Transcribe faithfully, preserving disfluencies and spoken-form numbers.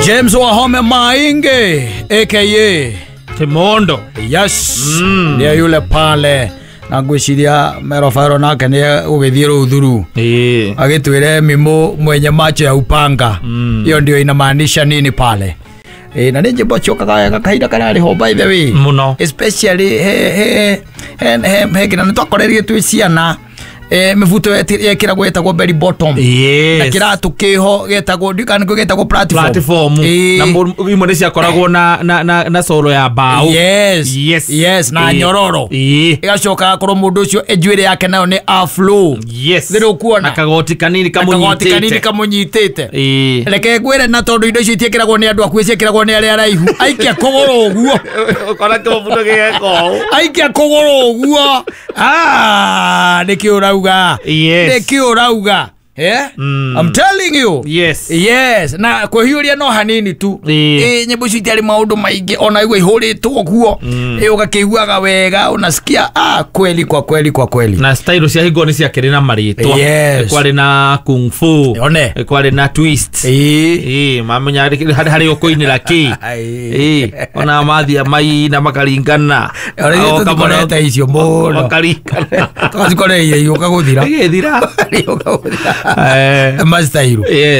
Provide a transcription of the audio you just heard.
James Wahome Mainge aka Kimondo. Yes. Mm. Nä yule pale na ngwĩciria merobero nake nĩ ũgĩthiĩ rũthuru Ĩĩ. agĩtwĩre mimo mwenye macho ya upanga hiyo ndio inamaanisha nini pale e, na nĩ njĩmbo ciokaga wega kahinda kararĩ ho by the way Mũno. Especially he he he he he kina nĩ twakorerie twĩ ciana e, mĩbuto yekĩragwo yetagwo bell bottom Yes. na kĩratũ kĩho getagwo ndikana nĩkĩo getagwo platform. Platform. Ĩĩ. Na mũ- imwe nĩ ciakoragwo na na na na solo ya mbaũ. Yes. Yes. Yes, na Ĩĩ. nyororo. Ĩĩ. Ĩgacoka gakorwo mũndũ ũcio njuĩrĩ yake nayo nĩ afro. Yes. Thĩrĩ ũkuona. Na kagoti kanini kagoti kanini kamũnyitĩte. Kamũnyitĩte. Ĩĩ. Reke ngwĩre na tondũ indo icio itiĩkĩragwo nĩ andũ akuĩ, ciĩkĩragwo nĩ arĩa araihu, aikia kũgũrũ ũguo. Ũkona kĩmũbuto gĩgeka ũũ. Aikia kũgũrũ ũguo. Ah, nĩkĩ ũrauga? Yes. Nĩkĩ ũrauga? Yeah? Mm. I'm telling you. Yes. Yes, na kwĩhiũria no hanini tu. Ĩĩ. Ĩ, nyĩmbo icio itiarĩ maũndũ maingĩ ona igua ihũrĩtwo guo ĩ ũgakĩiguaga wega, unasikia ah, kweli kwa kweli kwa kweli. Na style cia hingo nĩ ciakĩrĩ na marĩtwa. Yes. Kwarĩ na kung fu. One. Kwarĩ na twist. Ĩĩ. Ĩĩ, mamenya harĩ harĩ ũkũinĩra kĩ. Ĩĩ. Ĩĩ, ona mathia maina makaringana. Ona ithuĩ O kamwe- tũtikorete icio mũno. Makaringana. Tũgacikoreire igĩũka gũthira. Ĩgĩthira. Igĩũka gũthira. Eh. Mastairo. Yes.